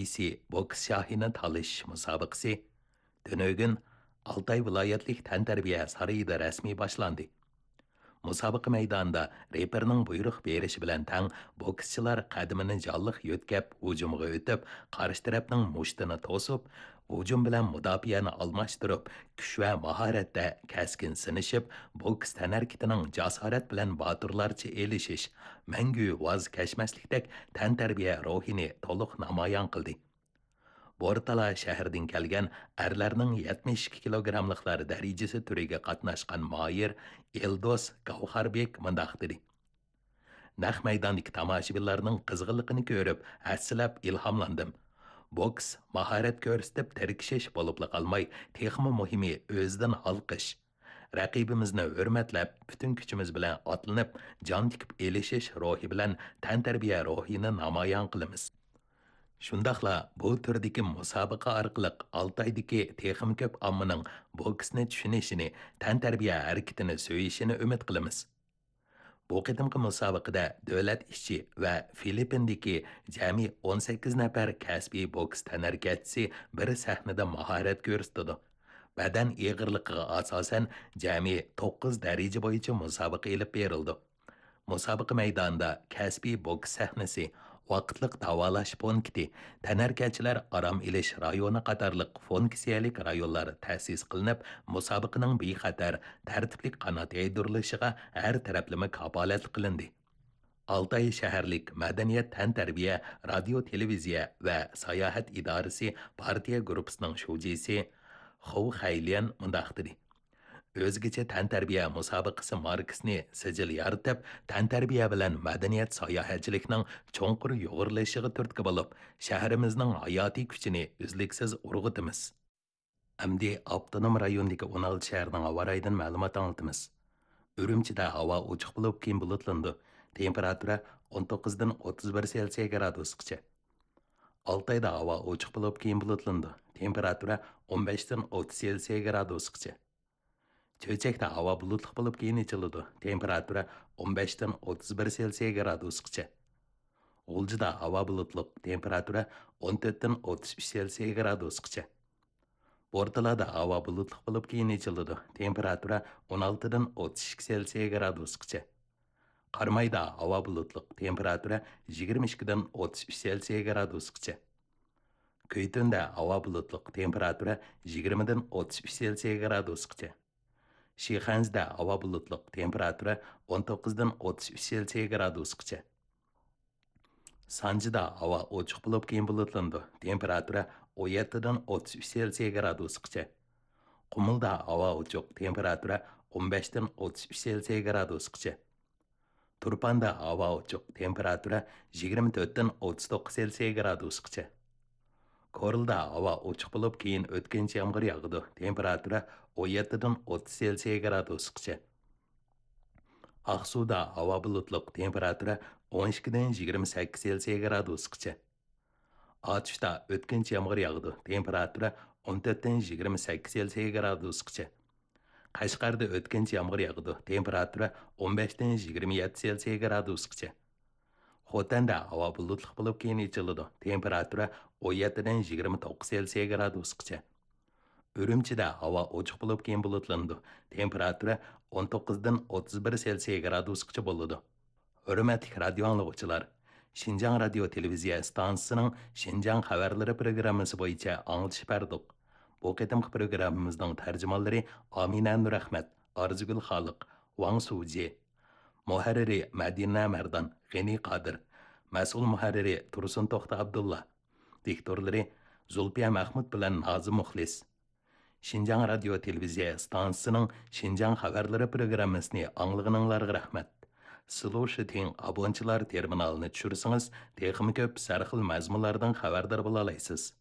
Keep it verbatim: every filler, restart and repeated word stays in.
ئىككىنچىسى بوكس شاھىنى تالىشىش مۇسابىقىسى تۈنۈگۈن ئالتاي ۋىلايەتلىك تەنتەربىيە سارىيىدا رەسمىي باشلاندى. مۇسابىقە مەيدانىدا رېپېرنىڭ بۇيرۇق بېرىشى بىلەن تەڭ بوكسچىلار قەدىمىنى جانلىق يۆتكەپ ھۇجۇمغا ئۆتۈپ، قارشى تەرەپنىڭ مۇشتىنى توسۇپ، ھۇجۇم بىلەن مۇداپىئەنى ئالماشتۇرۇپ، كۈچ ۋە ماھارەتتە كەسكىن سىنىشىپ، بوكس تەنھەرىكىتىنىڭ جاسارەت بىلەن باتۇرلارچە ئېلىشىش، مەڭگۈ ۋاز كەچمەسلىكتەك تەنتەربىيە روھىنى تولۇق نامايان قىلدى. بورتالا شەھىرىدىن كەلگەن ئەرلەرنىڭ يەتمىش ئىككى كىلوگراملىقلار دەرىجىسى تۈرىگە قاتناشقان ماھىر ئېلدوس گاۋھاربېك مۇنداق دېدى: نەق مەيداندىكى تاماشىبىنلارنىڭ قىزغىنلىقىنى كۆرۈپ، ھەسسىلەپ ئىلھاملاندىم. بوكس، ماھارەت كۆرسىتىپ تىركىشىش بولۇپلا قالماي، تېخىمۇ مۇھىمى ئۆزىدىن ھالقىش. رەقىبىمىزنى ھۆرمەتلەپ، پۈتۈن كۈچىمىز بىلەن ئاتلىنىپ، جان تىكىپ ئېلىشىش روھى بىلەن تەنتەربىيە روھىنى نامايان قىلىمىز. شۇنداقلا بۇ تۈردىكى مۇسابىقە ئارقىلىق ئالتايدىكى تېخىمۇ كۆپ ئاممىنىڭ بوكسنى چۈشىنىشىنى، تەنتەربىيە ھەرىكىتىنى سۆيۈشىنى ئۈمىد قىلىمىز. بۇ قېتىمقى مۇسابىقىدە دۆلەت ئىچى ۋە فىلىپپىندىكى جەمئىي ئون سەككىز نەپەر كەسپىي بوكس تەنھەرىكەتچىسى بىر سەھنىدە ماھارەت كۆرسىتىدۇ. بەدەن ئېغىرلىقىغا ئاساسەن جەمئىي توققۇز دەرىجە بويىچە مۇسابىقە ئېلىپ بېرىلىدۇ. مۇسابىقە مەيدانىدا كەسپىي بوكس سەھنىسى، ۋاقىتلىق داۋالاش پونكىتى، تەنھەرىكەتچىلەر ئارام ئېلىش رايونى قاتارلىق فۇنكسىيەلىك رايونلار تەسىس قىلىنىپ، مۇسابىقىنىڭ بىخەتەر، تەرتىپلىك قانات يايدۇرۇلۇشىغا ھەر تەرەپلىمە كاپالەتلىك قىلىندى. ئالتاي شەھەرلىك مەدەنىيەت، تەنتەربىيە، رادىيو، تېلېۋىزىيە ۋە ساياھەت ئىدارىسى پارتىيە گۇرۇپپىسىنىڭ شۇجىسى خۇ خەيليەن مۇنداق دېدى: ئۆزگىچە تەنتەربىيە مۇسابىقىسى ماركىسىنى سىجىل يارىتىپ، تەنتەربىيە بىلەن مەدەنىيەت ساياھەتچىلىكنىڭ چوڭقۇر يۇغۇرۇلۇشىغا تۈرتكە بولۇپ، شەھىرىمىزنىڭ ھاياتىي كۈچىنى ئۈزلۈكسىز ئۇرغۇتىمىز. ئەمدى ئاپتونوم رايوندىكى ئون ئالتە شەھەرنىڭ ھاۋا رايىدىن مەلۇمات ئاڭلىتىمىز. ئۈرۈمچىدە ھاۋا ئوچۇق بولۇپ، كېيىن بۇلۇتلىنىدۇ. تېمپېراتۇرا ئون توققۇزدىن ئوتتۇز بىر سېلسىيە گرادۇسقىچە. ئالتايدا ھاۋا ئوچۇق بولۇپ، كېيىن بۇلۇتلىنىدۇ. تېمپېراتۇرا ئون بەشتىن ئوتتۇز سېلسىيە گرادۇسقىچە. چۆچەكتە ھاۋا بۇلۇتلۇق بولۇپ، كېيىن ئېچىلىدۇ. تېمپېراتۇرا ئون بەشتىن ئوتتۇز بىر سېلسىيە گرادۇسقىچە. غۇلجىدا ھاۋا بۇلۇتلۇق، تېمپېراتۇرا ئون تۆتتىن ئوتتۇز ئۈچ سېلسىيە گرادۇسقىچە. بورتالادا ھاۋا بۇلۇتلۇق بولۇپ، كېيىن ئېچىلىدۇ. تېمپېراتۇرا ئون ئالتىدىن ئوتتۇز ئىككى سېلسىيە گرادۇسقىچە. قارامايدا ھاۋا بۇلۇتلۇق، تېمپېراتۇرا يىگىرمە ئىككىدىن ئوتتۇز ئۈچ سېلسىيە گرادۇسقىچە. كۈيتۈندە ھاۋا بۇلۇتلۇق، تېمپېراتۇرا يىگىرمىدىن ئوتتۇز ئۈچ سېلسىيە گرادۇسقىچە. شىخەنزىدە ھاۋا بۇلۇتلۇق، تېمپېراتۇرا ئون توققۇزدىن ئوتتۇز ئۈچ سېلسىيە گرادۇسقىچە. سانجىدا ھاۋا ئوچۇق بولۇپ، كېيىن بۇلۇتلىنىدۇ. تېمپېراتۇرا ئون يەتتىدىن ئوتتۇز ئۈچ سېلسىيە گرادۇسقىچە. قۇمۇلدا ھاۋا ئوچۇق، تېمپېراتۇرا ئون بەشتىن ئوتتۇز ئۈچ سېلسىيە گرادۇسقىچە. تۇرپاندا ھاۋا ئوچۇق، تېمپېراتۇرا يىگىرمە تۆتتىن ئوتتۇز توققۇز سېلسىيە گرادۇسقىچە. كورلىدا ھاۋا ئوچۇق بولۇپ، كېيىن ئۆتكۈنچى يامغۇر ياغىدۇ، تېمپېراتۇرا ئون يەتتىدىن ئوتتۇز سېلسىيە گرادۇسقىچە. ئاقسۇدا ھاۋا بۇلۇتلۇق، تېمپېراتۇرا ئون ئىككىدىن يىگىرمە سەككىز سېلسىيە گرادۇسقىچە. ئاتۇشتا ئۆتكۈنچى يامغۇر ياغىدۇ، تېمپېراتۇرا ئون تۆتتىن يىگىرمە سەككىز سېلسىيە گرادۇسقىچە. قەشقەردە ئۆتكۈنچى يامغۇر ياغىدۇ، تېمپېراتۇرا ئون بەشتىن يىگىرمە يەتتە سېلسىيە گرادۇسقىچە. خوتەندە ھاۋا بۇلۇتلۇق بولۇپ، كېيىن ئېچىلىدۇ، تېمپېراتۇرا ئون يەتتىدىن يىگىرمە توققۇز سېلسىيە گرادۇسقىچە. ئۈرۈمچىدە ھاۋا ئوچۇق بولۇپ، كېيىن بۇلۇتلىنىدۇ، تېمپېراتۇرا ئون توققۇزدىن ئوتتۇز بىر سېلسىيە گرادۇسقىچە بولىدۇ. ھۆرمەتلىك رادىيو ئاڭلىغۇچىلار، شىنجاڭ رادىيو تېلېۋىزىيە ئىستانسىسىنىڭ شىنجاڭ خەۋەرلىرى پروگراممىسى بويىچە ئاڭلىتىش بەردۇق. بۇ قېتىمقى پروگراممىمىزنىڭ تەرجىمانلىرى ئامىنە نۇرئەخمەت، ئارزۇگۈل خالىق، ۋاڭ سۇجى. مۇھەررىرى مەدىنە مەردان، غېنى قادىر. مەسئۇل مۇھەررىرى تۇرسۇن توختى ئابدۇللا. دىكتورلىرى زۇلپىيە مەخمۇت بىلەن نازىم مۇخلىس. شىنجاڭ رادىيو تېلېۋىزىيە ئىستانسىسىنىڭ شىنجاڭ خەۋەرلىرى پروگراممىسىنى ئاڭلىغىنىڭلارغا رەھمەت. سلۇشىتىڭ ئابونچىلار تېرمىنالىنى چۈشۈرسىڭىز، تېخىمۇ كۆپ سەرخىل مەزمۇنلاردىن خەۋەردار بولالايسىز.